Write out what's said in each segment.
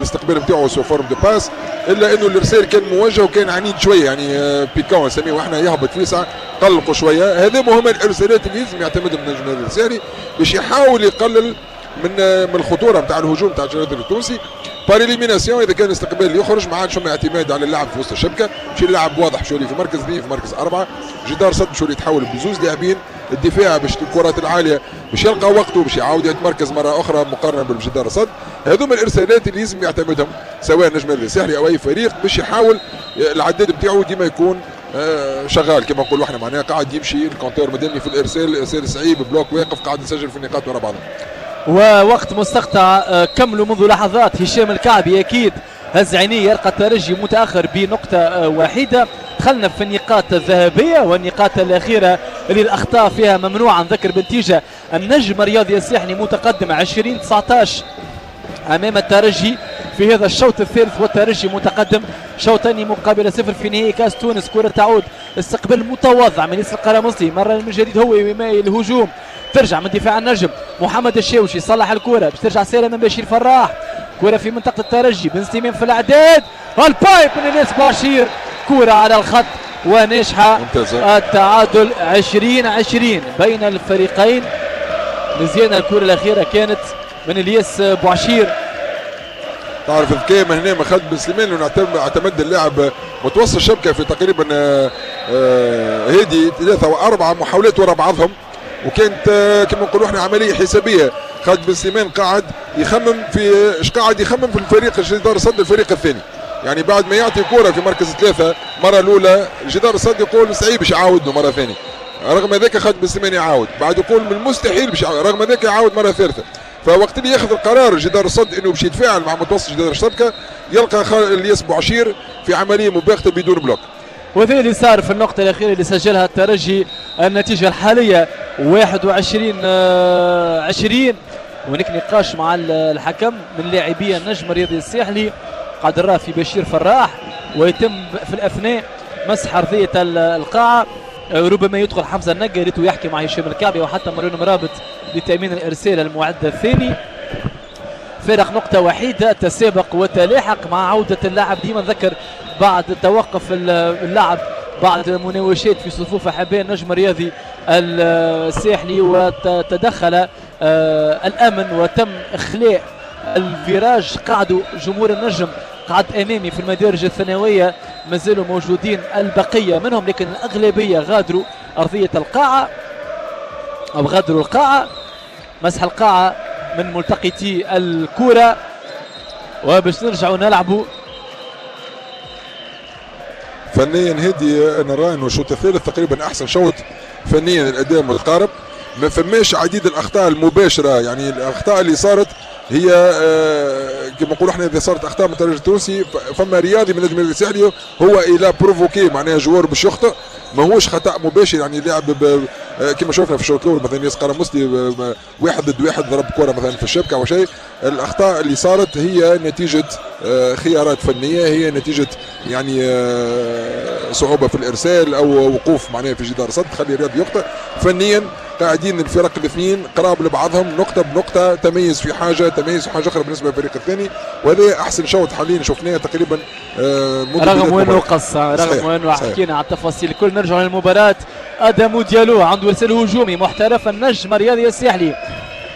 الاستقبال نتاعو sous forme de passe، الا انه الارسال كان موجه وكان عنيد شويه، يعني piquant نسميه احنا، يهبط فيسع، قلقوا شويه. هذا مهم الارسالات اللي لازم يعتمدهم النجم الساحلي باش يحاول يقلل من الخطورة نتاع الهجوم نتاع الجنرال التونسي par élimination. اذا كان الاستقبال يخرج ما عادش فما اعتماد على اللعب في وسط الشبكه، باش يلعب واضح باش يولي في مركز اثنين، في مركز اربعه، جدار صد باش يتحول بزوز لاعبين، الدفاع باش الكرات العالية باش يلقى وقته باش يعاود يتمركز مرة اخرى مقارنة بالجدار الصد. هذوما الارسالات اللي لازم يعتمدهم سواء النجم الساحلي او اي فريق باش يحاول العداد نتاعو ديما يكون شغال كما نقولوا احنا، معناها قاعد يمشي ال compteur مدني في الارسال، الارسال صعيب، bloc واقف، قاعد يسجل في النقاط ورا بعضهم. ووقت مستقطع كملوا منذ لحظات. هشام الكعبي اكيد هز عينيه، يلقى الترجي متاخر بنقطة واحده. دخلنا في النقاط الذهبية والنقاط الاخيرة اللي الاخطاء فيها ممنوعه. نذكر بالنتيجه، النجم الرياضي الساحلي متقدم 20-19 امام الترجي في هذا الشوط الثالث، والترجي متقدم شوطين مقابل صفر في نهائي كاس تونس. كرة تعود، استقبال متواضع من ياسر القرمصي، مرة من جديد هو يميل الهجوم، ترجع من دفاع النجم محمد الشاوشي صلح الكرة باش ترجع سالم من بشير فراح. كرة في منطقة الترجي، بن سليمان في الأعداد، ال pipe من الياس بشير، كرة على الخط وناجحة. التعادل 20-20 بين الفريقين. مزيانة الكرة الأخيرة كانت من الياس بوعشير. تعرف الذكاء من هنا من خالد بن سليمان انه اعتمد اللاعب متوسط الشبكة في تقريبا هادي 3 أو 4 محاولات ورا بعضهم، وكانت كما نقولوا احنا عملية حسابيه. خالد بن سليمان قاعد يخمم في ايش قاعد يخمم في الفريق جدار الصد الفريق الثاني، يعني بعد ما يعطي كره في مركز 3 مرة الاولى جدار الصد يقول صعيب باش يعاود له مرة ثانية، رغم ذاك خالد بن سليمان يعاود، بعد يقول من المستحيل باش رغم ذاك يعاود مرة ثالثة. فوقت اللي ياخذ القرار جدار الصد انه باش يتفاعل مع متوسط جدار الشبكة يلقى الياس بوعشير في عملية مباغته بدون bloc. وهذا اللي صار في النقطة الاخيرة اللي سجلها الترجي. النتيجة الحالية 21-20. هناك نقاش مع الحكم من لاعبي النجم الرياضي الساحلي، قاعد نراه في بشير فراح، ويتم في الاثناء مسح ارضية القاعة. ربما يدخل حمزة النقا ريتو يحكي مع هشام الكعبي وحتى ماريون مرابط لتامين الارسال المعد الثاني. فارق نقطة وحيده، تسابق وتلاحق مع عوده اللاعب. ديما نذكر بعد توقف اللعب بعد مناوشات في صفوف احباء النجم الرياضي الساحلي، وتدخل الامن وتم اخلاء ال virage. قعدوا جمهور النجم قعد امامي في المدارج الثانوية، ما زالوا موجودين البقية منهم، لكن الاغلبية غادروا ارضية القاعة او غادروا القاعة. مسح القاعة من ملتقطي الكره، وباش نرجعوا نلعبوا. فنيا هدي انا نرى انه الشوط الثالث تقريبا احسن شوط فنيا، الاداء متقارب، ما فماش عديد الاخطاء المباشرة. يعني الاخطاء اللي صارت هي كما نقولوا احنا اذا صارت اخطاء من الترجي التونسي فما رياضي من النجم الساحلي هو الى provoqué، معناها joueur باش يخطئ، ماهوش خطا مباشر. يعني لاعب كما شفنا في الشوط الاول مثلا ياس قرمصلي 1 ضد 1 ضرب كره مثلا في الشبكة او شيء. الاخطاء اللي صارت هي نتيجة خيارات فنية، هي نتيجة يعني صعوبة في الارسال او وقوف معناها في جدار صد تخلي الرياضي يخطئ. فنيا قاعدين الفرق الاثنين قراب لبعضهم، نقطة بنقطة، تميز في حاجة، تميز في حاجة اخرى بالنسبة للفريق الثاني، وهذا احسن شوط حاليا شفناه تقريبا. رغم انه قص، رغم انه حكينا على التفاصيل الكل. نرجع للمباراة. ادم ديالو عنده ارسال هجومي محترف النجم الرياضي الساحلي،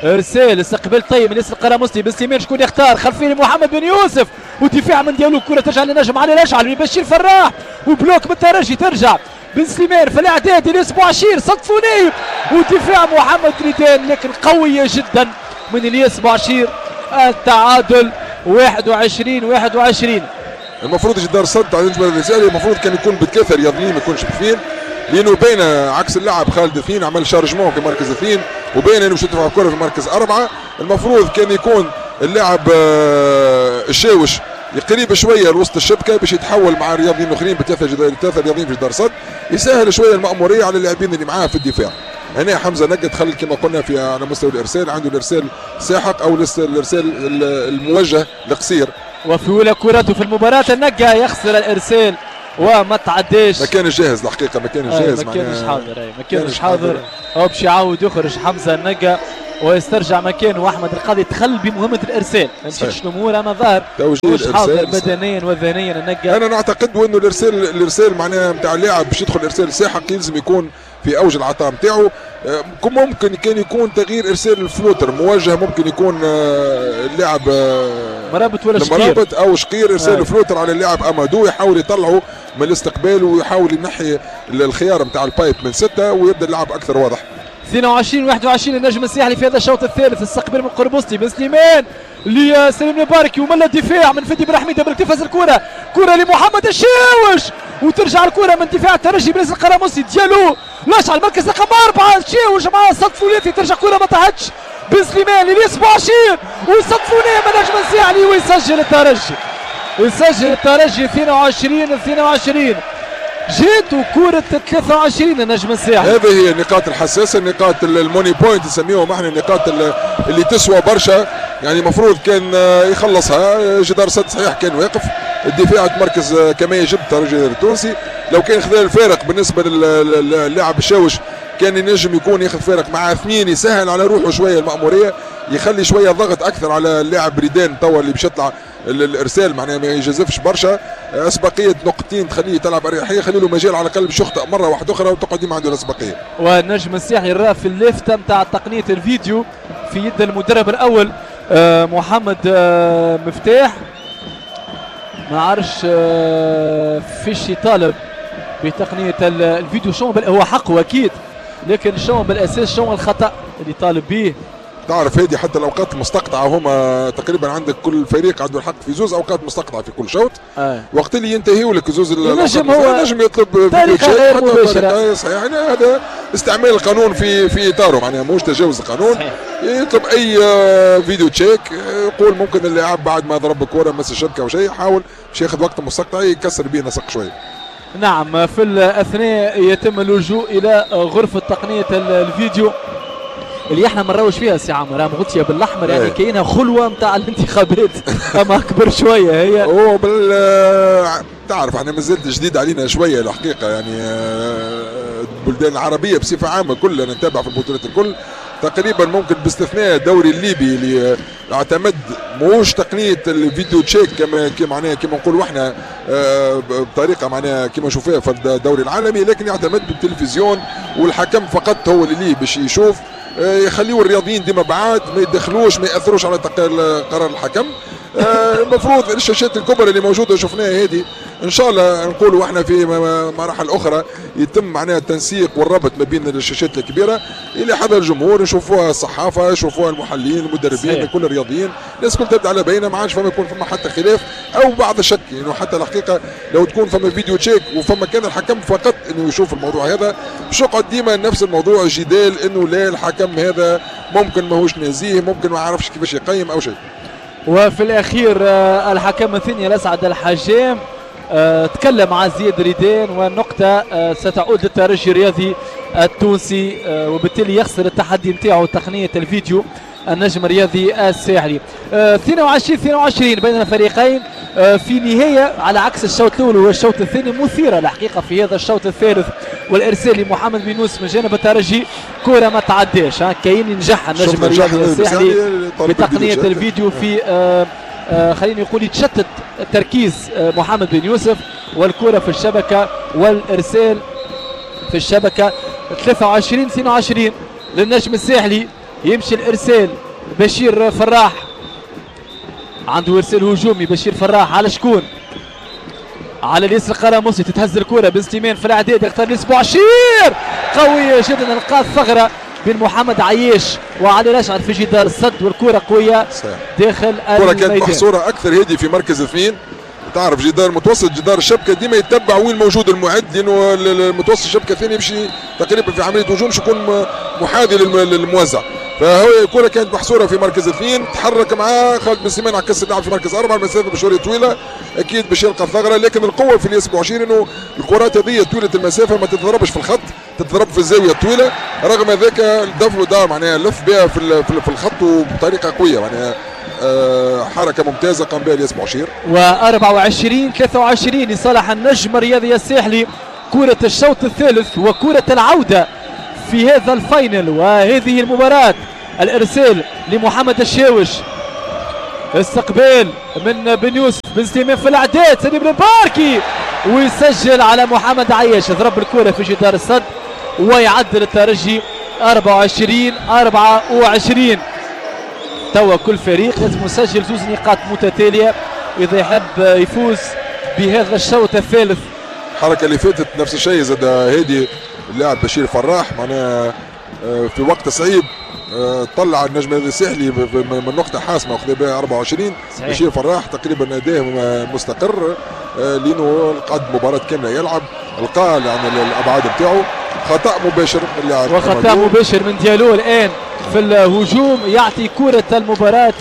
ارسال استقبال طيب من ياسر القرمصلي، بن سليمان شكون يختار؟ خلفية محمد بن يوسف، ودفاع من ديالو، الكره ترجع للنجم علي الاشعل من بشير فراح، و bloc من الترجي، ترجع بن سليمان في الاعداد الياس بوعشير، صدفوا نايب، ودفاع محمد ريدان لكن قوية جدا من الياس بوعشير. التعادل 21-21. المفروض جدار صد على النجم الرسالي المفروض كان يكون بثلاثة رياضيين ما يكونش باثنين، لانه بين عكس اللاعب خالد اثنين عمل chargement في مركز اثنين، وبين انه باش يدفع الكره في مركز اربعة. المفروض كان يكون اللاعب الشاوش قريب شوية لوسط الشبكة باش يتحول مع رياضيين اخرين بثلاثة رياضيين في جدار صد، يسهل شوية المأموريه على اللاعبين اللي معاه في الدفاع. هنا حمزة نقد دخل كما قلنا في على مستوى الارسال، عنده الارسال ساحق او الارسال الموجه القصير. وفي اولى كرته في المباراة النقا يخسر الارسال وما تعداش. ما كانش جاهز الحقيقة، ما كانش جاهز، ما كانش حاضر، ما كانش حاضر. هو باش يعاود يخرج حمزة النقا ويسترجع مكانه احمد القاضي. دخل بمهمة الارسال، ما مشيتش الامور، اما ظهر مش حاضر بدنيا وذهنيا النقا. انا نعتقد انه الارسال معناها نتاع اللاعب باش يدخل ارسال ساحق يلزم يكون في اوج العطاء نتاعو. ممكن كان يكون تغيير ارسال ال flotteur موجه، ممكن يكون اللاعب مرابط ولا شقير، مرابط او شقير، ارسال ال flotteur على اللاعب امادو، يحاول يطلعه من الاستقبال ويحاول ينحي الخيار نتاع ال pipe من 6 ويبدا اللعب اكثر واضح. 22-21 النجم الساحلي في هذا الشوط الثالث. استقبال من قربوستي بن سليمان لسليم الباركي، وملا دفاع من فدي بن حميده بالكتف، الكره كره لمحمد الشاوش، وترجع الكره من دفاع الترجي بن القراموسي ديالو لاشعل المركز رقم 4 الشاوش مع صد ثلاثي، ترجع كره ما طاحتش بن سليمان للياس بوعشير، وصد ثنائي من النجم الساحلي ويسجل الترجي، يسجل الترجي 22-22. جات كرة 23 النجم الساحلي. هذه هي النقاط الحساسة، النقاط ال money point نسميهم احنا، النقاط اللي تسوى برشا، يعني المفروض كان يخلصها. جدار سد صحيح كان واقف، الدفاع تمركز كما يجب الترجي التونسي. لو كان خذا الفارق بالنسبة للاعب الشاوش كان ينجم يكون ياخذ فارق مع 2، يسهل على روحه شوية المأمورية، يخلي شوية ضغط اكثر على اللاعب ريدان توا اللي باش يطلع الارسال، معناها ما يجازفش برشا. اسبقيه نقطتين تخليه تلعب اريحية، خلي له مجال على الاقل باش يخطئ مرة واحدة اخرى وتقعد ديما عنده الاسبقيه. والنجم الساحلي راه في اللافتة نتاع تقنية الفيديو في يد المدرب الاول محمد مفتاح، ما عرفش فيش يطالب بتقنية الفيديو، شو هو حقه اكيد، لكن شو بالاساس شو الخطا اللي طالب به. تعرف هذه حتى الاوقات المستقطعه هما تقريبا عندك كل فريق عنده الحق في زوز اوقات مستقطعه في كل شوط. وقت اللي ينتهيوا لك زوز نجم هو نجم يطلب طريقه غير مباشرة. صحيح، يعني هذا استعمال القانون في اطاره، معناها مش تجاوز القانون. صحيح. يطلب اي video check، يقول ممكن اللاعب بعد ما ضرب الكره مس الشبكة او شيء، يحاول باش ياخذ وقت مستقطع يكسر به نسق شوية. نعم، في الاثناء يتم اللجوء الى غرفة تقنية الفيديو اللي احنا ما نراوش فيها سي عمر، مغطيه بالاحمر يعني كاينها خلوه نتاع الانتخابات اما اكبر شوية هي. هو تعرف احنا مازالت جديد علينا شوية الحقيقة، يعني البلدان العربية بصفة عامة كلنا نتابع في البطولات الكل تقريبا، ممكن باستثناء الدوري الليبي اللي اعتمد موش تقنية ال video check كما معناها كما نقولوا احنا بطريقة معناها كما نشوفوها في الدوري العالمي، لكن يعتمد بالتلفزيون والحكم فقط هو اللي ليه باش يشوف. يخليوا الرياضيين ديما بعاد، ما يدخلوش، ما ياثروش على قرار الحكم. المفروض الشاشات الكبرى اللي موجودة شفناها هذه ان شاء الله نقولوا احنا في مراحل اخرى يتم معناها التنسيق والربط ما بين الشاشات الكبيرة الى حضر الجمهور، يشوفوها الصحافة، يشوفوها المحللين، المدربين، كل الرياضيين، الناس كل تبدا على بينه، ما عادش فما يكون فما حتى خلاف او بعض الشك. يعني حتى الحقيقة لو تكون فما video check وفما كان الحكم فقط انه يشوف الموضوع هذا، باش يقعد ديما نفس الموضوع جدال انه لا الحكم هذا ممكن ماهوش نزيه، ممكن ما عرفش كيفاش يقيم او شيء. وفي الاخير الحكم الثاني الاسعد الحجام تكلم مع زياد ريدان، والنقطة ستعود للترجي الرياضي التونسي، وبالتالي يخسر التحدي نتاعو تقنية الفيديو النجم الرياضي الساحلي. 22-22 بين الفريقين في نهاية على عكس الشوط الأول والشوط الثاني مثيرة الحقيقة في هذا الشوط الثالث. والإرسال لمحمد بنوس من جانب الترجي، كرة ما تعداش، كاين ينجح النجم الرياضي الساحلي بتقنية الفيديو في خليني نقول يتشتت تركيز محمد بن يوسف، والكرة في الشبكة والإرسال في الشبكة. 23-22 للنجم الساحلي، يمشي الإرسال بشير فراح، عنده إرسال هجومي بشير فراح على شكون؟ على الياس القراموسي، تتهز الكرة بن سليمان في الإعداد، يختار الياس بوعشير، قوية جدا، القى الثغرة بين محمد عياش وعلي الاشعر في جدار السد، والكرة قوية داخل الميدان. الكرة كانت محصورة أكثر هذه في مركز اثنين، تعرف جدار متوسط جدار الشبكة ديما يتبع وين موجود المعد، لأنه المتوسط الشبكة الثاني يمشي تقريبا في عملية هجوم باش يكون محاذي للموزع، فهو الكرة كانت محصورة في مركز اثنين، تحرك معاه خالد بن سليمان عكس اللعب في مركز أربعة، المسافة بشوية طويلة أكيد باش يلقى الثغرة، لكن القوة في الياس بوعشير إنه الكرات هذه طويلة المسافة ما تتضربش في الخط، تتضرب في الزاوية الطويلة، رغم ذاك الدفل دار معناها لف بها في الخط وبطريقة قوية، معناها حركة ممتازة قام بها الياس بوعشير. و24-23 لصالح النجم الرياضي الساحلي، كرة الشوط الثالث وكرة العودة في هذا ال final وهذه المباراة الارسال لمحمد الشاوش، استقبال من بن يوسف، بن سليمان في الاعداد، سليم المباركي ويسجل على محمد عياش، ضرب الكره في جدار الصد ويعدل الترجي 24-24. توا كل فريق لازم يسجل زوز نقاط متتالية اذا يحب يفوز بهذا الشوط الثالث. الحركة اللي فاتت نفس الشيء زاد هادي اللاعب بشير فراح، معناها في وقت صعيب طلع النجم الساحلي من نقطة حاسمة وخذ بها 24. صحيح. بشير فراح تقريبا اداء مستقر لانه قعد مباراة كاملة يلعب، لقى يعني الابعاد نتاعو. خطا مباشر من اللاعب، وخطا مباشر من ديالو الان في الهجوم، يعطي كره المباراة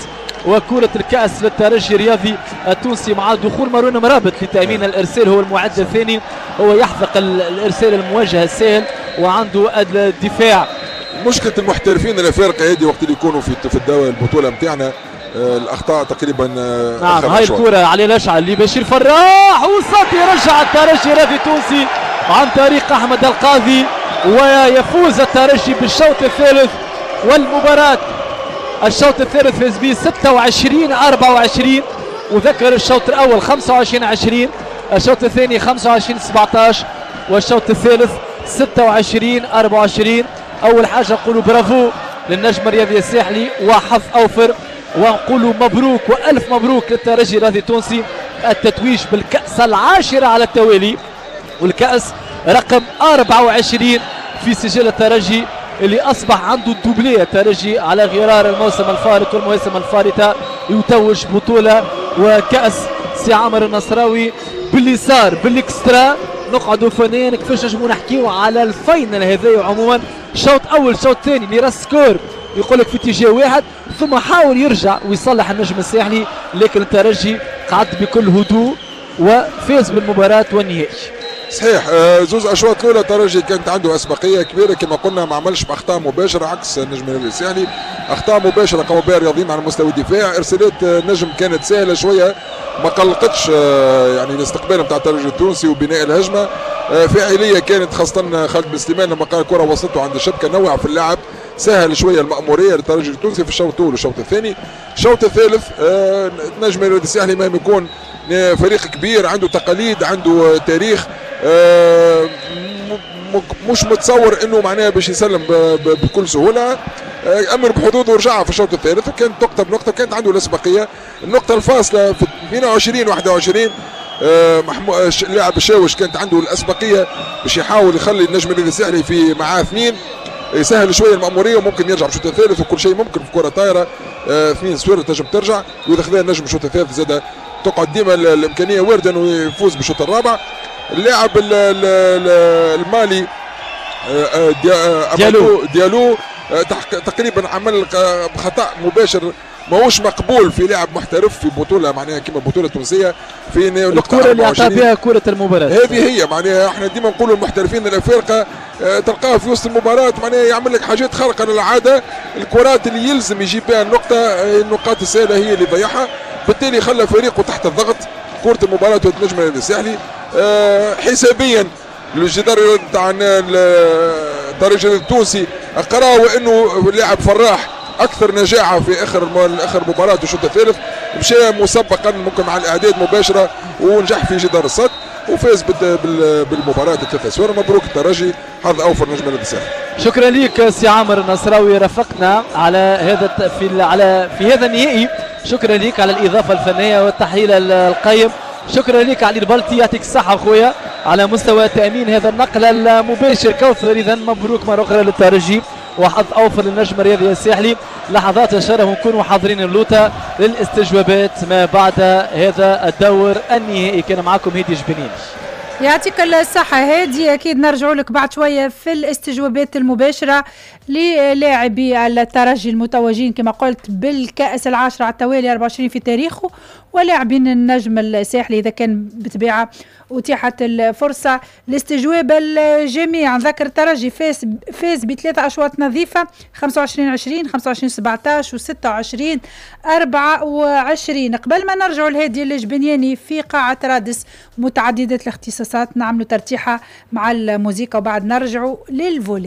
وكرة الكأس للترجي الرياضي التونسي مع دخول مروان مرابط لتأمين الإرسال، هو المعد الثاني، هو يحذق الإرسال الموجه السهل وعنده الدفاع. مشكلة المحترفين الأفارقة هذه وقت اللي يكونوا في الدوري البطولة نتاعنا الأخطاء تقريبا. نعم، هاي الكرة علي الأشعل لبشير فراح وصد، يرجع الترجي الرياضي التونسي عن طريق أحمد القاضي، ويفوز الترجي بالشوط الثالث والمباراة. الشوط الثالث فاز به 26-24، وذكر الشوط الاول 25-20، الشوط الثاني 25-17، والشوط الثالث 26-24. اول حاجة نقولوا برافو للنجم الرياضي الساحلي وحظ اوفر، ونقولوا مبروك والف مبروك للترجي الرياضي التونسي التتويج بالكاس العاشرة على التوالي، والكاس رقم 24 في سجل الترجي اللي اصبح عنده ال doublé. الترجي على غرار الموسم الفارط والمواسم الفارطه يتوج بطوله وكاس سي عامر النصراوي. باللي صار بال extra نقعدوا فنيا كيفاش نجموا نحكيو على ال finale هذايا عموما. شوط اول شوط ثاني اللي راس score يقول لك في اتجاه واحد، ثم حاول يرجع ويصلح النجم الساحلي، لكن الترجي قعد بكل هدوء وفاز بالمباراة والنهائي. صحيح، زوز اشواط الاولى الترجي كانت عنده اسبقيه كبيرة كما قلنا، ما عملش باخطاء مباشرة عكس النجم الساحلي، اخطاء مباشرة قاموا بها الرياضيين على مستوى الدفاع. ارسالات النجم كانت سهلة شوية، ما قلقتش يعني الاستقبال نتاع الترجي التونسي وبناء الهجمة. فاعلية كانت خاصة خالد بن سليمان لما قال الكره وصلته عند الشبكة، نوع في اللعب، سهل شوية المأموريه للترجي التونسي في الشوط الاول والشوط الثاني. الشوط الثالث النجم الساحلي ما يكون فريق كبير عنده تقاليد عنده تاريخ، مش متصور انه معناها باش يسلم بكل سهولة. امر بحدوده ورجع في الشوط الثالث، وكانت نقطة بنقطة وكانت عنده الاسبقيه. النقطة الفاصلة في 22-21 اللاعب الشاوش كانت عنده الاسبقيه باش يحاول يخلي النجم الساحلي في معاه اثنين، يسهل شوية المأموريه وممكن يرجع بالشوط الثالث، وكل شيء ممكن في كره طايره 2-0 تنجم ترجع، واذا خذا النجم الشوط الثالث زاد تقعد ديما الامكانية وارده انه يفوز بالشوط الرابع. اللاعب المالي ديالو تقريبا عمل خطا مباشر ماهوش مقبول في لاعب محترف في بطوله معناها كما البطولة التونسية في نقطة الكره اللي اعطى بها كره المباراة هذه هي. معناها احنا ديما نقولوا المحترفين الافارقة تلقاه في وسط المباراة معناها يعمل لك حاجات خارقة للعادة، الكرات اللي يلزم يجيب بها النقطة، النقاط السهلة هي اللي ضيعها، بالتالي خلى فريقه تحت الضغط. كره المباراة النجم الساحلي حسابيا الجدار تاع الترجي التونسي قرا انه اللاعب فراح اكثر نجاعه في اخر مباراة الشوط الثالث، مشى مسبقا ممكن مع الاعداد مباشرة ونجح في جدار الصد وفاز بالمباراة 3-0. مبروك الترجي، حظ اوفر نجم الساحل. شكرا لك سي عامر النصراوي، رافقنا على هذا في هذا النهائي. شكرا لك على الاضافة الفنية والتحليل القيم. شكرا لك علي البلطي، يعطيك الصحة خويا على مستوى تامين هذا النقل المباشر. كوثر، اذا مبروك مرة اخرى للترجي وحظ اوفر للنجم الرياضي الساحلي. لحظات الشرف ونكونوا حاضرين اللوطه للاستجوابات ما بعد هذا الدور النهائي. كان معكم هادي جبنين. يعطيك الصحة هادي، أكيد نرجع لك بعد شوية في الاستجوابات المباشرة للاعبي الترجي المتوجين كما قلت بالكأس العاشرة على التوالي 24 في تاريخه، ولاعبين النجم الساحلي إذا كان بطبيعة أتيحت الفرصة لاستجواب الجميع. نذكر الترجي فاز بثلاثة أشواط نظيفة 25-20 25-17 و26-24. قبل ما نرجع لهادي الجبنياني في قاعة رادس متعددة الاختصاصات نعملوا ترتيحة مع الموسيقى وبعد نرجعوا لل volley.